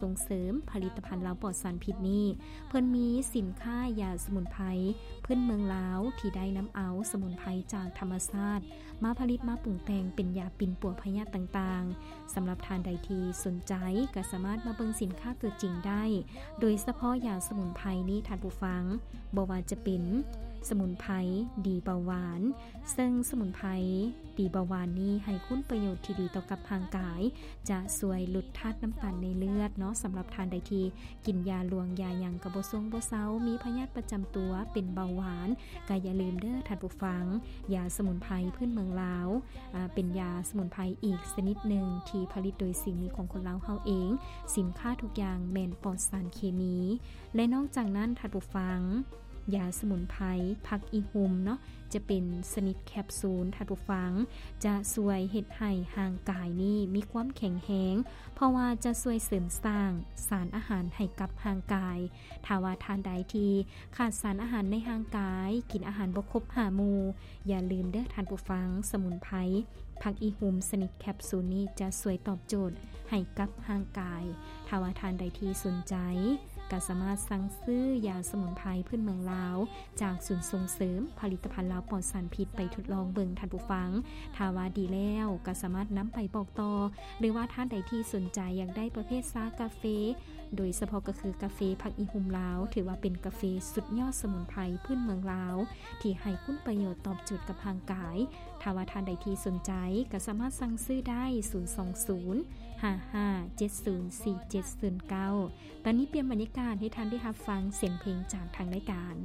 ສົ່ງເສີມຜະລິດຕະພັນລາວປອດສານພິດນີ້ ເພິ່ນມີສິນຄ້າຢາສະໝຸນໄພພື້ນເມືອງລາວ ທີ່ໄດ້ນຳເອົາສະໝຸນໄພຈາກທຳມະຊາດ ມາຜະລິດມາປຸງແຕ່ງເປັນຢາປິ່ນປົວພະຍາດຕ່າງໆ. ສຳລັບທ່ານໃດທີ່ສົນໃຈ ກໍສາມາດມາເບິ່ງສິນຄ້າຕົວຈິງໄດ້ ໂດຍສະເພາະຢາສະໝຸນໄພນີ້ ທ່ານຜູ້ຟັງ, ບໍ່ວ່າຈະເປັນສະໝຸນໄພດີເບົາຫວານ, ເຊິ່ງສະໝຸນໄພດີເບົາຫວານນີ້ໃຫ້ຄຸນປະໂຫຍດທີ່ດີຕໍ່ກັບຮ່າງກາຍ, ຈະຊ່ວຍຫຼຸດທາດນ້ຳຕານໃນເລືອດເນາະ. ສຳລັບທ່ານໃດທີ່ ກິນຢາຫຼວງຢາຫຍັງກໍບໍ່ຊົງບໍ່ເຊົາ, ມີພະຍາດປະຈຳຕົວເປັນເບົາຫວານ, ກໍຢ່າລືມເດີທ່ານຜູ້ຟັງ, ຢາສະໝຸນໄພພື້ນເມືອງລາວ ອາ ເປັນຢາສະໝຸນໄພອີກຊະນິດໜຶ່ງທີ່ຜະລິດໂດຍສີມືຂອງຄົນລາວເຮົາເອງ. ສິນຄ້າທຸກຢ່າງແມ່ນປອດສານເຄມີ. ແລະ ນອກຈາກນັ້ນທ່ານຜູ້ຟັງ, ຢາສະໝຸນໄພຜັກອີຮຸ່ມເນາະ ຈະເປັນຊະນິດແຄບຊູນ, ທ່ານຜູ້ຟັງ, ຈະຊ່ວຍເຮັດໃຫ້ຮ່າງກາຍນີ້ມີຄວາມແຂງແຮງ, ເພາະວ່າຈະຊ່ວຍເສີມສ້າງສານອາຫານໃຫ້ກັບຮ່າງກາຍ. ຖ້າວ່າທ່ານໃດທີ່ຂາດສານອາຫານໃນຮ່າງກາຍ, ກິນອາຫານບໍ່ຄົບຫ້າໝູ່, ຢ່າລືມເດີທ່ານຜູ້ຟັງ, ສະໝຸນໄພຜັກອີຮຸ່ມຊະນິດແຄບຊູນນີ້ຈະຊ່ວຍຕອບໂຈດໃຫ້ກັບຮ່າງກາຍ. ຖ້າວ່າທ່ານໃດທີ່ສົນໃຈ ກໍສາມາດສັ່ງຊື້ຢາສະໝຸນໄພພື້ນເມືອງລາວ ຈາກສູນສົ່ງເສີມຜະລິດຕະພັນລາວປອດສານພິດໄປທົດລອງເບິ່ງທ່ານຜູ້ຟັງ. ຖ້າວ່າດີແລ້ວກໍສາມາດນຳໄປບອກຕໍ່, ຫຼືວ່າທ່ານໃດທີ່ສົນໃຈຢາກໄດ້ປະເພດຊາກາເຟ, ໂດຍສະເພາະກໍຄືກາເຟຜັກອີຮຸ່ມລາວ, ຖືວ່າເປັນກາເຟສຸດຍອດສະໝຸນໄພພື້ນເມືອງລາວ ທີ່ໃຫ້ຄຸນປະໂຫຍດຕອບໂຈດກັບຮ່າງກາຍ. ຖ້າວ່າທ່ານໃດທີ່ສົນໃຈ ກໍສາມາດສັ່ງຊື້ໄດ້ ສູນສອງສູນ ຫ້າຫ້າເຈັດສູນ ສີ່ເຈັດສູນເກົ້າ. ຕອນນີ້ປ່ຽນບັນຍາກາດໃຫ້ທ່ານໄດ້ຮັບຟັງສຽງເພງຈາກທາງລາຍການ.